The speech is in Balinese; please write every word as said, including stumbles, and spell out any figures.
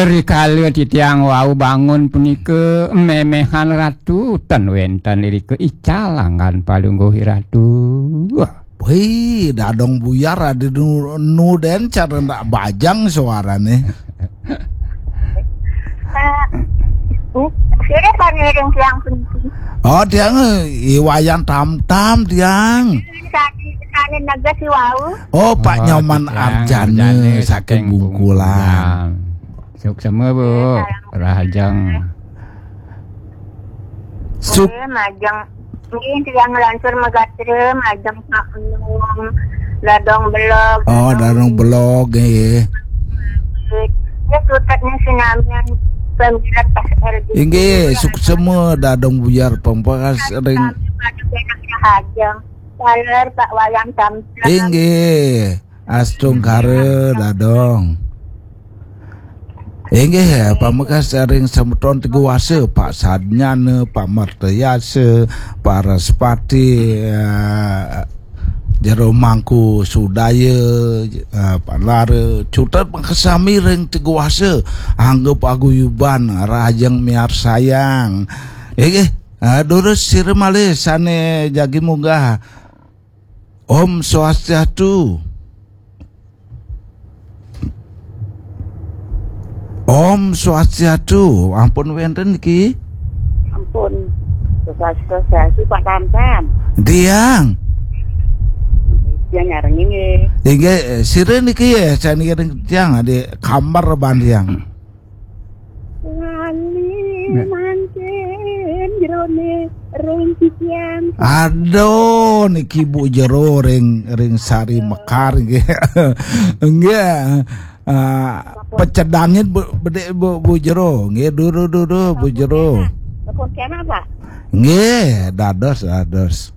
Rikala titiang wau bangun punika, memehan Ratu ten wenten irika ical anggan palungguh Ratu. Wih, Dadong Buyar ada nu, nu den cara ndak bajang suarane. Eh, sira paniring tiang puniki. Oh, tiang, eh, I Wayan Tamtam tiang. Sani sani neges si wau. Oh, Pak Oh, Nyoman tiang Arjana Arjana saking Bungkulan. Suksema, Bu. Rahajeng. Suk Eh, majeng. Ini tiang lansur magatra, majeng Pak Enung, Dadong Belog. Oh, Dadong Belog, eh. Ya, sutetnya sinamian pemilat pas R D. Inggih, suksema Dadong Buyar pembekas ring. Pada penak Rahajeng. Taler Pak Wayan Tamtam. Inggih, astungkara Dadong. Inggih, ya, pamekas ring semeton Teguh Wasa, Pak Sadnyana, Pak Martayasa, Pak Raspati, eh, Jero Mangku Sudaya, eh, Pak Lara, cutet makasami ring Teguh Wasa, angga paguyuban, rahajeng miarsayang. Inggih, eh, durus sira malih sane jagi munggah. Om Swastiastu. Om Swastiastu. Ampun wenten niki. Ampun. Swastiastu Pak Tamtam. Tiang. Dia nyarengin nggih. Inggih, sira niki ya, saya niki tiang di kamar ban tiang. Lali mangkin jerone ring titiang. Aduh, niki Bu Jero ring ring sari mekar nggih. Nggih. Ah, pecedangin bu, bedik Bu, Bu Jero. Nggih, duru duru Bu Jero. Telepon kena, Pak. Nggih, dados dados.